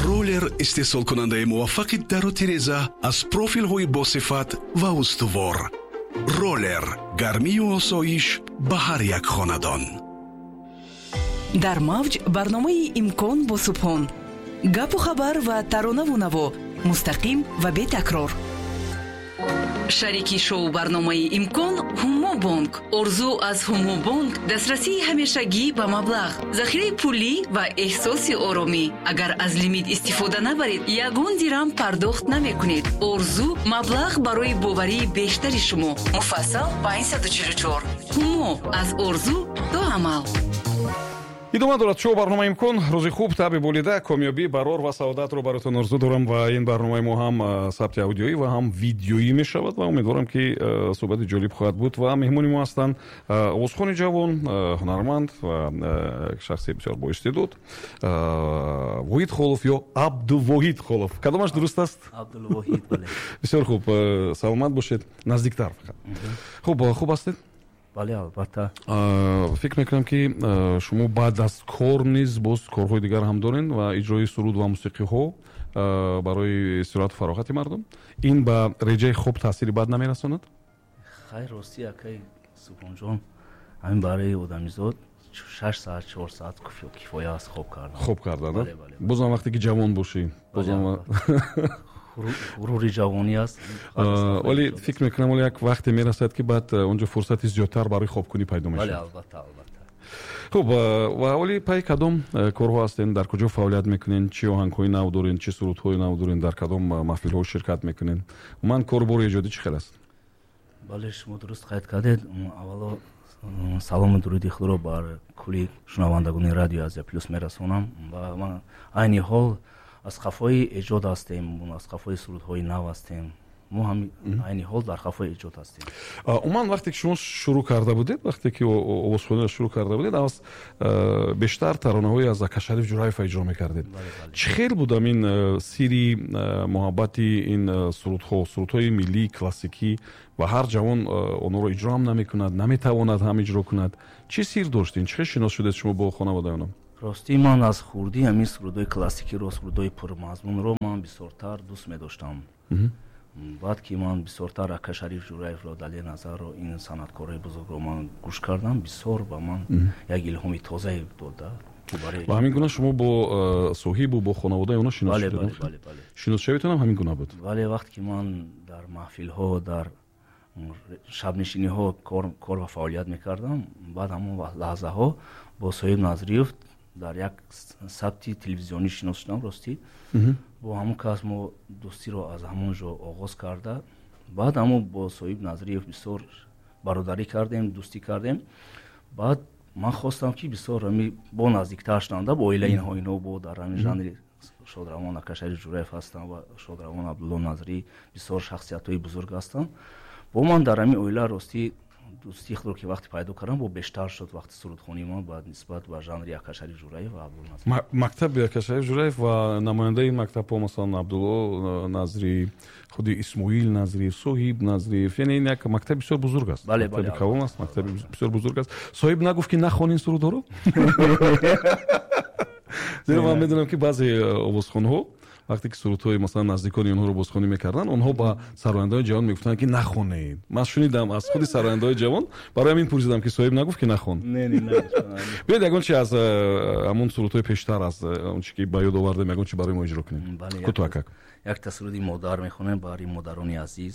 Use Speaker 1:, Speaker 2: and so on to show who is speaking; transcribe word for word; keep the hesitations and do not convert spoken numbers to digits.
Speaker 1: Роллер истеҳсолкунандаи муваффақи дару тиреза аз профилҳои босифат ва устувор. Роллер гармию осоиш ба ҳар як хонадон.
Speaker 2: Дар мавҷ барномаи «Имкон» бо Субҳон. Гапу хабар ва таронаву наво мустақим ва бетакрор. Шарики шоу барномаи «Имкон» Ҳумо Бонк. Орзу аз Ҳумо Бонк дастрасии ҳамешагӣ ба маблағ, захираи пулӣ ва эҳсоси оромӣ. Агар аз лимит истифода набаред, ягон дирам пардохт намекунед. Орзу маблағ барои боварии бештари шумо. Муфассал панҷсаду чилу чор. Ҳумо аз орзу то амал.
Speaker 3: Идома дорад шоу барномаи «Имкон». Рӯзи хуб, таби болида, комёбӣ, барор ва саодатро баротон орзу дорам. Ва ин барномаи мо ҳам сабти аудиоӣ ва ҳам видеоӣ мешавад ва умедворам, ки суҳбати ҷолиб хоҳад буд. Ва меҳмони мо ҳастанд овозхони ҷавон, ҳунарманд ва шахси бисёр боистеъдод Воҳид Холов ё Абдувоҳид Холов. Кадомаш дуруст аст?
Speaker 4: Абдулвоҳид, бале.
Speaker 3: Бисёр хуб, саломат бошед. Наздиктар фақат. Хуб, хуб ҳастед?
Speaker 4: Бале, албатта.
Speaker 3: Фикр мекунам, ки шумо баъд аз кор низ боз корҳои дигар ҳам дорен ва иҷрои суруд ва мусиқиҳо барои истироҳату фароғати мардум. Ин ба реҷаи хоб таъсири бад намерасонад?
Speaker 4: Хайр, ростӣ, акай Субҳонҷон, ҳамин барои одамизод шаш саат, чор саат кифоя аст хоб кардан.
Speaker 3: Хоб кардан, бозам вақте ки ҷавон бошӣ, бозам.
Speaker 4: Ғурури ҷавонӣ аст.
Speaker 3: Вале фикр мекунам, оле як вақте мерасад, ки баъд онҷо фурсати зиёдтар барои хобкунӣ пайдо мешавад.
Speaker 4: Бале, албатта, албатта.
Speaker 3: Хуб, ва оли пай кадом корҳо ҳастен, дар куҷо фаъолият мекунен, чӣ оҳангҳои нав дорен, чӣ сурудҳои нав дорен, дар кадом маҳфилҳо ширкат мекунен? Умуман, кору эҷодӣ чӣ хел аст?
Speaker 4: Бале, шумо дуруст қайд кардед. Аввало, салому дуруди худро бар кулли шунавандагони Радиои Азия Плюс мерасонам. Ва ман айни ҳол аз қафои эҷод ҳастем, аз қафои сурудҳои нав ҳастем. Мо ҳам айни ҳол дар қафои эҷод ҳастем.
Speaker 3: Умуман, вақте ки шумо шурӯъ карда будед, вақте ки овозхониро шурӯъ карда будед, аз бештар таронаҳои аз Акашариф Ҷураева иҷро мекардед. Чӣ хел буд ин сири муҳаббати ин сурудҳо, сурудҳои миллии классикӣ, ва ҳар ҷавон онҳоро иҷро ҳам намекунад, наметавонад ҳам иҷро кунад? Чӣ сир доштин? Чӣ хел шинос шудед шумо бо хонаводаи онҳо?
Speaker 4: Ростӣ, ман аз хурдӣ ҳамин сурудҳои классикиро, сурудҳои пурмазмунро ман бисёртар дӯст медоштам. Баъд ки ман бисёртар Ака Шариф Ҷураевро, Далер Назарро, ин санъаткорои бузургро ман гӯш кардам, бисёр ба ман як илҳоми тозае дода.
Speaker 3: Ва ҳамин гуна шумо бо соҳибу бо хонаводаи онҳо шинос шудед? Шиносшавитон ҳам ҳамин гуна буд?
Speaker 4: Бале, вақте ки ман дар маҳфилҳо, дар шабнишиниҳо кор ва фаъолият мекардам, баъд ҳамон лаҳзаҳо бо Соҳиб Назриев дар як сабти телевизионӣ шинос шудам. Ростӣ, бо ҳамон кас мо дӯстиро аз ҳамон ҷо оғоз карда, баъд ҳамон бо Соҳиб Назриев бисёр бародарӣ кардем, дӯстӣ кардем. Баъд ман хостам, ки бисёр бо наздиктар шудам бо оилаи инҳо. Инҳо бо дар ҳамин жанри шодравон Акашариф Ҷураев ҳастанд ва шодравон Абдулло Назрӣ, бисёр шахсиятҳои бузург ҳастанд. Бо ман дар ҳамин оила, ростӣ, дӯстии худро ки вақте пайдо кардам, бо бештар шуд вақти сурудхонии ман ба нисбат ба жанри Акашариф Ҷураев ва Абдулло Назрӣ.
Speaker 3: Мактаби Акашариф Ҷураев ва намояндаи ин мактабҳо, масалан, Абдулло Назрӣ, худи Исмоил Назрӣ, Соҳиб Назриев, яъне ин як мактаби бисёр бузург аст. Мактаби калон аст, мактаби бисёр бузург аст. Соҳиб нагуфт, ки нахон ин сурудҳоро? Зеро ман медонам, ки баъзе овозхонҳо, вақте ки сурудҳои, масалан, наздикони онҳоро бозхонӣ мекарданд, онҳо ба сарояндаҳои ҷавон мегуфтанд, ки нахонед. Ман шунидам аз худи сарояндаҳои ҷавон, барои ҳамин пурсидам, ки соҳиб нагуфт, ки нахон? Биёед, ягон чи аз ҳамон сурудҳои пештар, аз он чи ки ба ёд овардем, ягон чи барои мо иҷро кунем, кӯтоҳакак.
Speaker 4: Якта суруди модар мехонем барои модарони азиз.